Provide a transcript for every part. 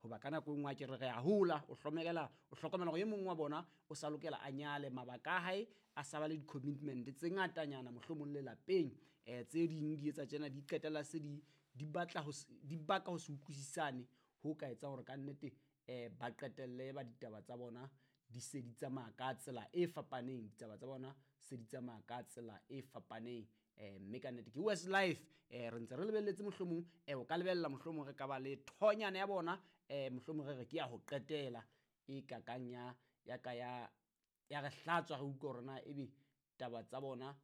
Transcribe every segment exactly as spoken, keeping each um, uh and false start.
Hoba ka nako e nngwe a ke re re a hola, o hlokomela o hlokomela hore e mong wa bona o sa lokela a nyale, mabaka a hae a sa ba le di-commitment tse ngatanyana mohlomong lelapeng. um Tse ding di etsa tjena, di qetella se di di batla ho di baka ho se utlwisisane ho ka etsa hore kannete um ba qetelle ba ditaba tsa bona di se di tsamaya ka tsela e fapaneng, ditaba tsa bona se di tsamaya ka tsela e fapaneng. um Mme kannete ke West Life. um Re ntse re lebelletse mohlomong, um o ka lebella mohlomong re ka ba le thonyana ya bona, um mohlomong re re ke ya ho qetela e kakang ya ya ka ya ya re hlatswa, re utlwe hore na ebe taba tsa bona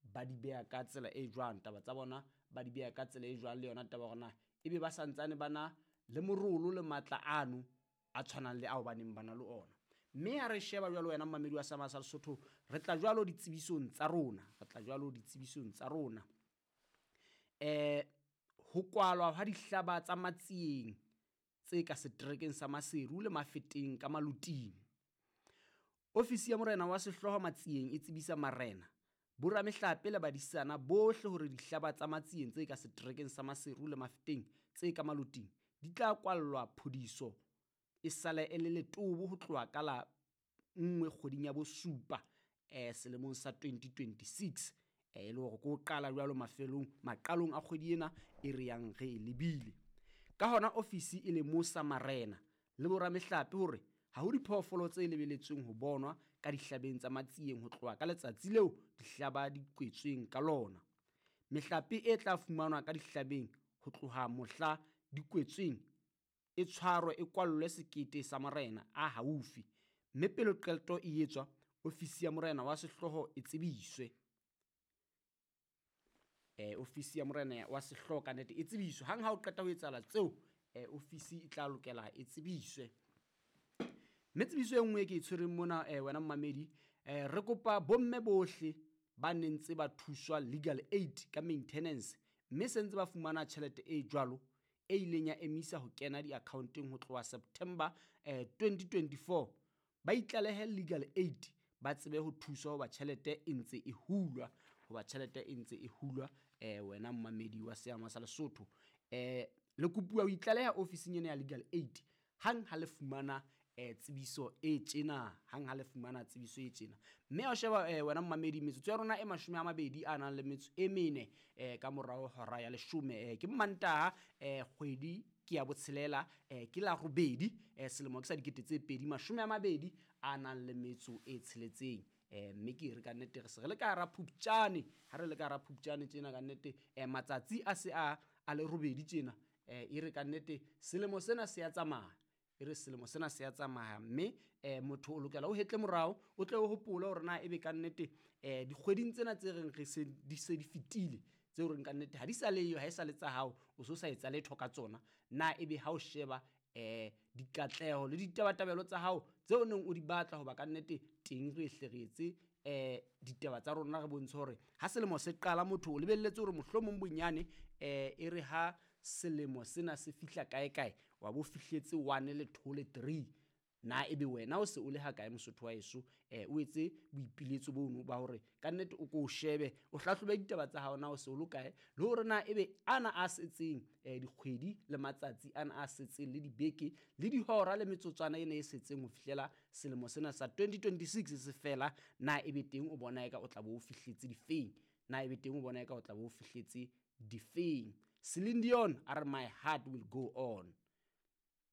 ba di beha ka tsela e jwang, taba tsa bona ba di beha ka tsela e jwang, le yona taba hore na ebe ba santsane ba na le morolo le matla ano a tshwanang le ao ba neng ba na le ona. Mme ha re sheba jwalo wena mmamedi wa Sama sa Lesotho, re tla jwalo ditsebisong tsa rona, re tla jwalo ditsebisong tsa rona. um Ho kwalwa ha dihlaba tsa Matsieng tse ka seterekeng sa Maseru le Mafeteng ka Maluting. Ofisi ya morena wa sehlooho Matsieng e tsebisa marena, boramehlape le badisana bohle hore dihlaba tsa Matsieng tse ka seterekeng sa Maseru le Mafeteng tse ka Maluting di tla kwallwa phodiso e sale e le letobo ho tloha ka la nngwe kgweding ya bosupa um selemong sa twenty twenty-six. E le hore ke ho qala jwalo mafelong maqalong a kgwedi ena e re yang re e lebile. Ka hona ofisi e lemosa marena le boramehlape hore ha ho diphoofolo tse lebeletsweng ho bonwa ka dihlabeng tsa Matsieng ho tloha ka letsatsi leo dihlaba di kwetsweng ka lona. Mehlape e tla fumanwa ka dihlabeng ho tloha mohla di kwetsweng e tshwarwe e kwallwe sekete sa morena a haufi, mme pele qeto e etswa, ofisi ya morena wa sehlooho e tsebiswe. Eh, ofisi ya morena wa sehlooho ka nnete e tsebiswe. Hang ha o qeta ho etsahala tseo, eh, ofisi e tla lokela e tsebiswe. Mme tsebiso e nngwe e ke e tshwereng mona, eh, wena mmamedi, eh, re kopa bomme bohle ba neng ntse ba thuswa legal aid ka maintenance, mme se ntse ba fumana tjhelete e jwalo e ileng ya emisa ho kena di-account-eng ho tloha September eh, twenty twenty-four, ba itlalehe legal aid ba tsebe ho thuswa hoba tjhelete e ntse e hulwa, hoba tjhelete e ntse e hulwa. eh, wena mmamedi wa Seama sa Lesotho, eh, le kopuwa ho itlaleha ofising ena ya legal aid hang ha le fumana eh, tsebiso e tjena, hang ha le fumana tsebiso e tjena. Mme ha o sheba eh, wena mmamedi, metsotso ya rona e mashome a mabedi a nang le metso e mene eh, ka morao hora ya leshome, eh, ke Mantaha, eh, kgwedi ke ya botshelela, eh, ke la robedi, eh, selemo ke sa dikete tse pedi mashome a mabedi a nang le metso e tsheletseng. Eh, mme ke re ka nnete re se re le ka hara Phupjane, ha re le ka hara Phupjane tjena ka nnete, eh, matsatsi a se a a le robedi tjena, eh, e re ka nnete selemo sena se ya tsamaya, e re selemo sena se ya tsamaya. Mme eh, motho o lokela o hetle morao, o tle o hopole hore na ebe ka nnete eh, dikgweding tsena tse reng re se di se di fetile, tseo reng ka nnete ha di sa leyo, ha e sa le tsa hao, o so sa etsa letho ka tsona, na ebe ha o sheba eh dikatleho le ditabatabelo tsa hao tseo neng o di batla, hoba ka nnete teng re hle re etse eh ditaba tsa rona re bontshe hore ha selemo se qala motho o lebelletse hore mohlomong bonyane eh e re ha selemo sena se fihla kae kae wa bo fihletse one le two le three, na ebe wena o se o le ha kae Mosotho wa heso? eh o etse boipiletso bono ba hore ka nnete o ko o shebe, o hlahlobe ditaba tsa hao na o se o lo kae, le hore na ebe ana a setseng eh dikgwedi le matsatsi ana a setseng le dibeke le dihora le metsotswana ena e setseng ho fihlela selemo sena sa twenty twenty-six se fela, na ebe teng o bona eka o tla bo o fihletse difeng, na ebe teng o bona eka o tla bo o fihletse difeng. Celine Dion a re my heart will go on.